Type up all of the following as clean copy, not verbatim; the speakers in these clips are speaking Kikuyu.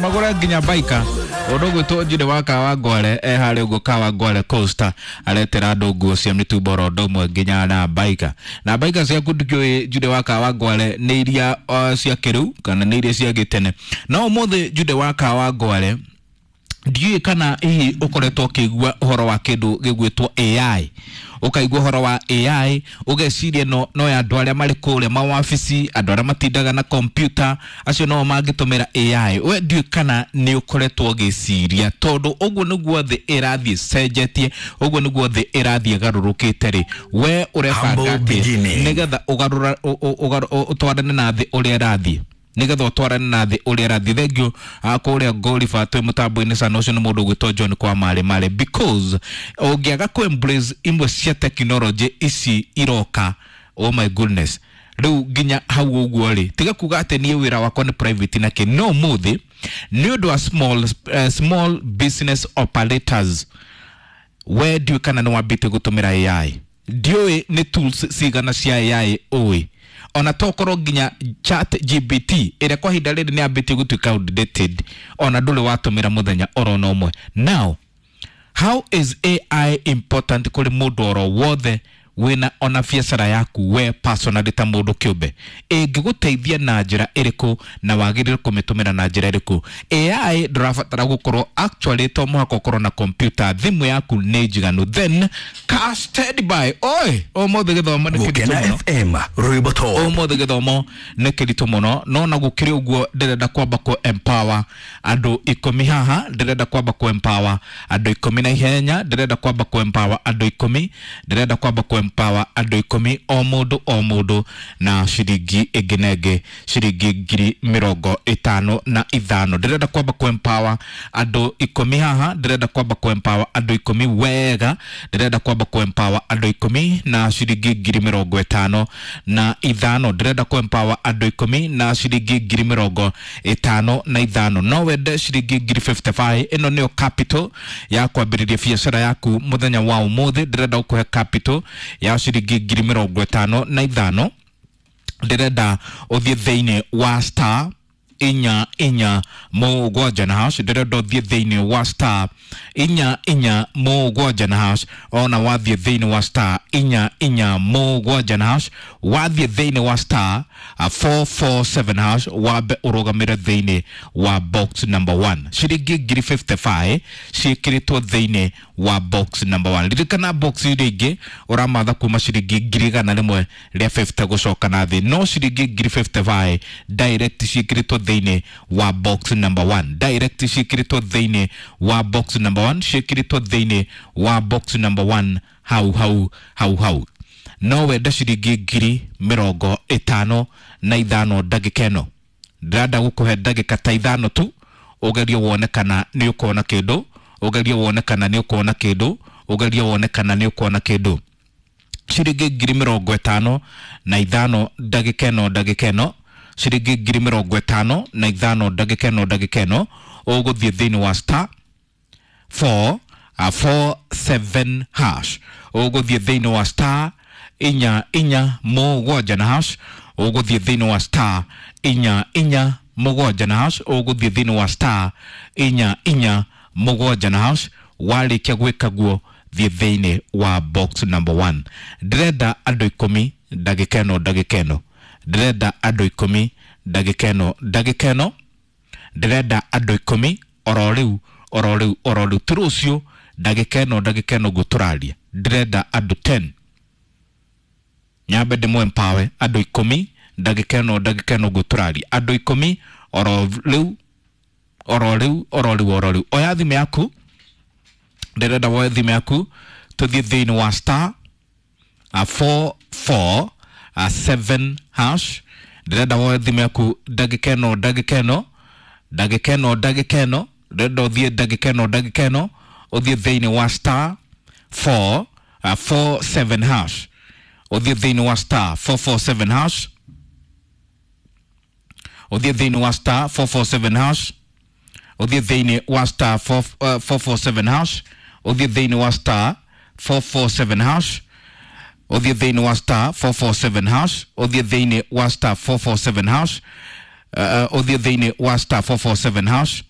Magũre nginya baika ũndũ ũgwĩtwo Jude wa Kawangware e harĩa ũguo Kawangware Coaster aretera andũ nguo cia mĩtumba oro ũndũ ũmwe nginya na baika na baika ciaku ndikĩũĩ Jude wa Kawangware nĩ iria cia kĩrĩu kana nĩ iria cia gĩtene. No ũmũthĩ Jude wa Kawangware ndiũĩ kana hihi ũkoretwo ũkĩigua ũhoro wa kĩndũ gĩgwĩtwo AI, ũkaigua ũhoro wa AI ũgeciria no ya andũ arĩa marĩ kũrĩa mawabici, andũ arĩa matindaga na kompyuta, acio no mangĩtũmĩra AI. We ndiũĩ kana nĩ ũkoretwo ũgĩciria, tondũ ũguo nĩguo thĩ ĩrathiĩ ĩcenjetie, ũguo nĩguo thĩ ĩrathiĩ ĩgarũrũkĩte rĩ, we ũrebanga Humble atĩa beginning. nĩgetha ũgarũra ũtwarane na thĩ ũrĩa ĩrathiĩ, nĩgetha ũtwarane na thĩ ũrĩa ĩrathiĩ. Thengiũ kũrĩa Ngoliba twĩ mũtambo-inĩ sana, ũcio nĩ mũndũ ũgwĩtwo John kwa marĩ marĩ, because ũngĩaga kũ embrace imwe cia technology ici iroka, oh my goodness, rĩu nginya hau ũguo rĩ, tiga kuga atĩ niĩ wĩra wakwa nĩ private na kĩ. No ũmũthĩ nĩ ũndũ wa small business operators, we ndiũĩ kana nĩ wambĩtie gũtũmĩra AI, ndiũĩ nĩ tools cigana cia AI ũĩ, ona tokorwo nginya Chat GPT ĩrĩa kwa ihinda rĩrĩ nĩ yambĩtie gũtuĩka outdated, ona ndũrĩ watũmĩra mũthenya oro na ũmwe. Now how is AI important kũrĩ mũndũ oro wothe wĩna ona biacara yaku we personally ta mũndũ kĩũmbe? Ĩngĩgũteithia na njĩra ĩrĩkũ na wagĩrĩire kũmĩtũmĩra na njĩra ĩrĩkũ? AI ndũrabatara gũkorwo actually to mũhaka ũkorwo na computer, thimũ yaku nĩ njiganu. Then ka stand by oi, ũmũthĩ gĩthomo nĩ kĩritũ Gukena mũno. FM rwimbo top. Ũmũthĩ gĩthomo nĩ kĩritũ mũno, no na gũkĩrĩ ũguo ndĩrenda kwamba kũ empower andũ 10 haha, ndĩrenda kwamba kũ empower andũ 10 na ihenya, ndĩrenda kwamba kũ empower andũ 10, ndĩrenda kwamba kũ empower andũ 10, o mũndũ o mũndũ na ciringi ĩngĩ na ĩngĩ ciringi 55,000. Ndĩrenda kwamba kũ empower andũ 10 haha, ndĩrenda kwamba kũ empower andũ 10 wega, ndĩrenda kwamba kũ empower andũ 10 na ciringi 55,000, ndĩrenda kũ empower andũ 10 na ciringi 55,000. No wende ciringi 55,000, ĩno nĩyo capital ya kwambĩrĩria biacara yaku mũthenya wa ũmũthĩ. Ndĩrenda gũkũhe capital ya ciringi 55,000. Ndĩrenda ũthiĩ thĩinĩ wa star inya inya mũgwanja na hash, ndĩrenda ũthiĩ thĩinĩ wa star inya inya mũgwanja na hash. Ona wathiĩ thĩinĩ wa star inya inya mũgwanja na hash, wathiĩ thĩinĩ wa star 447 hash, wambe ũrũgamĩre thĩinĩ wa box number 1. Ciringi 55,000 ciĩkĩrĩtwo thĩinĩ wa box number 1. Ririkana box iria ingĩ ũramatha kuma ciringi 150,000 gũcoka na thĩ, no ciringi 55,000 direct ciĩkĩrĩtwo thĩinĩ wa box number 1, direct ciĩkĩrĩtwo thĩinĩ wa box number 1, ciĩkĩrĩtwo thĩinĩ wa box number 1 hau hau hau hau. No wende ciringi 55,000 ndagĩka ĩno, ndĩrenda gũkũhe ndagĩka ta 5 tu, ũgerie wone kana nĩ ũkuona kĩndũ, ũgerie wone kana nĩ ũkuona kĩndũ, ũgerie wone kana nĩ ũkuona kĩndũ. Ciringi 55,000 ndagĩka ĩno, ndagĩka ĩno ciringi 55,000 ndagĩka ĩno, ndagĩka ĩno ũgũthiĩ thĩinĩ wa star 4 4 7 hash, ũgũthiĩ thĩinĩ wa star inya inya mũgwanja na hash, ũgũthiĩ thĩinĩ wa star inya inya mũgwanja na hash, ũgũthiĩ thĩinĩ wa star inya inya mũgwanja na hash. Warĩkia gwĩka guo thiĩ thĩinĩ wa box number 1. Ndĩrenda andũ 10 ndagĩka ĩno, ndagĩka ĩno ndĩrenda andũ 10 ndagĩka ĩno, ndagĩka ĩno ndĩrenda andũ 10 oro rĩu oro rĩu oro rĩu, ti rũciũ, ndagĩka ĩno, ndagĩka ĩno ũguo tũraria, ndĩrenda andũ 10 nyambe ndĩmũ empower andũ 10 ndagĩka ĩno, ndagĩka ĩno ũguo tũraria, andũ 10 oro rĩu oro rĩu oro rĩu oro rĩu. Oya thimũ yaku, ndĩrenda woe thimũ yaku tũthiĩ thĩinĩ wa star 4 4 7 hash, ndĩrenda woe thimũ yaku ndagĩka ĩno, ndagĩka ĩno, ndagĩka ĩno, ndagĩka ĩno ndĩrenda ũthiĩ ndagĩka ĩno, ndagĩka ĩno ũthiĩ thĩinĩ wa star 4 4 7 hash, ũthiĩ thĩinĩ wa star 447 hash, ũthiĩ thĩinĩ wa star 447 hash, ũthiĩ thĩinĩ wa star 4 447 hash, ũthiĩ thĩinĩ wa star 447 hash, ũthiĩ thĩinĩ wa star 447 hash, ũthiĩ thĩinĩ wa star 447 hash, ũthiĩ thĩinĩ wa star 447 hash.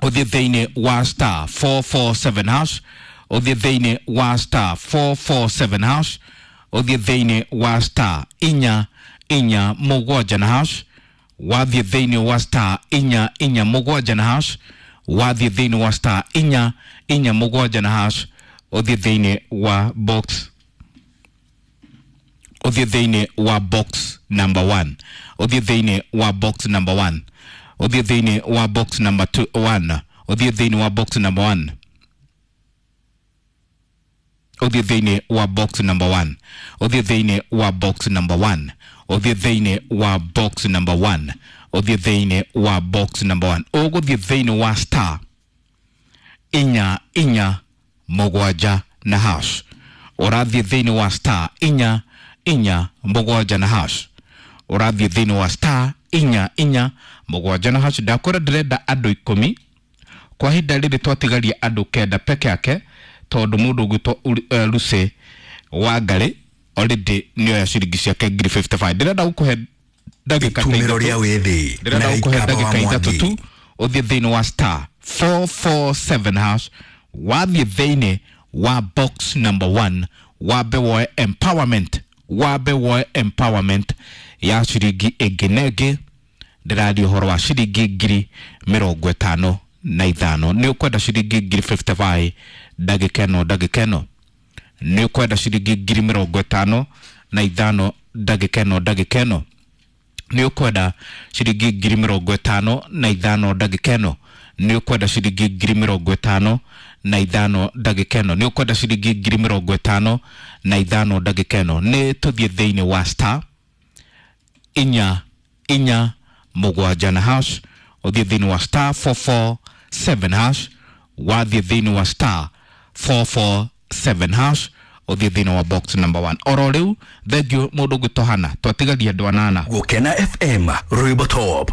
Ũthiĩ thĩinĩ wa star 447 hash, ũthiĩ thĩinĩ wa star 447 hash, ũthiĩ thĩinĩ wa star 447 na hash, wathiĩ thĩinĩ wa star 447 na hash, wathiĩ thĩinĩ wa star 447 na hash, ũthiĩ thĩinĩ wa box, ũthiĩ thĩinĩ wa box number 1, ũthiĩ thĩinĩ wa box number 1, ũthiĩ thĩinĩ wa box number 2 1, ũthiĩ thĩinĩ wa box number 1, ũthiĩ thĩinĩ wa box number 1, ũthiĩ thĩinĩ wa box number 1, ũthiĩ thĩinĩ wa box number 1, ũthiĩ thĩinĩ wa box number 1, ũgũthiĩ thĩinĩ wa star 447 na hash, ũrathiĩ thĩinĩ wa star 447 na hash, ũrathiĩ thĩinĩ wa star 447 na hash. Ndakwĩra ndĩrenda andũ 10 kwa ihinda rĩrĩ, twatigaria andũ 9 peke yake, tondũ mũndũ ũgwĩtwo Lucy Wangari already nĩoya ciringi ciake ngiri 55. Ndĩrenda gũkũhe ndagĩka ta Itumĩro 3 rĩa wĩthĩ ndĩrenda na gũkũhe Ikamba wa ndagĩka 3 Mwangi. tu ũthiĩ thĩinĩ wa star 447 hash, wathiĩ thĩinĩ wa box number 1, wambe woe empowerment, wambe woe empowerment ya ciringi ĩngĩ na ĩngĩ. Ndĩraria ũhoro wa ciringi ngiri 55. Nĩ ũkwenda ciringi ngiri 55 ndagĩka ĩno, ndagĩka ĩno nĩ ũkwenda ciringi ngiri 55 ndagĩka ĩno, ndagĩka ĩno nĩ ũkwenda ciringi ngiri 55 ndagĩka ĩno nĩ ũkwenda ciringi ngiri 55 ndagĩka ĩno nĩ ũkwenda ciringi ngiri 55 ndagĩka ĩno. Nĩ tũthiĩ thĩinĩ wa star 447 na hash, ũthiĩ thĩinĩ wa star 447 hash, wathiĩ thĩinĩ wa star 447 hash, ũthiĩ thĩinĩ wa box number 1 oro rĩu. Thengiũ mũndũ ũngĩtohana, twatigaria andũ 8. Gũkena FM, rwĩmbo top.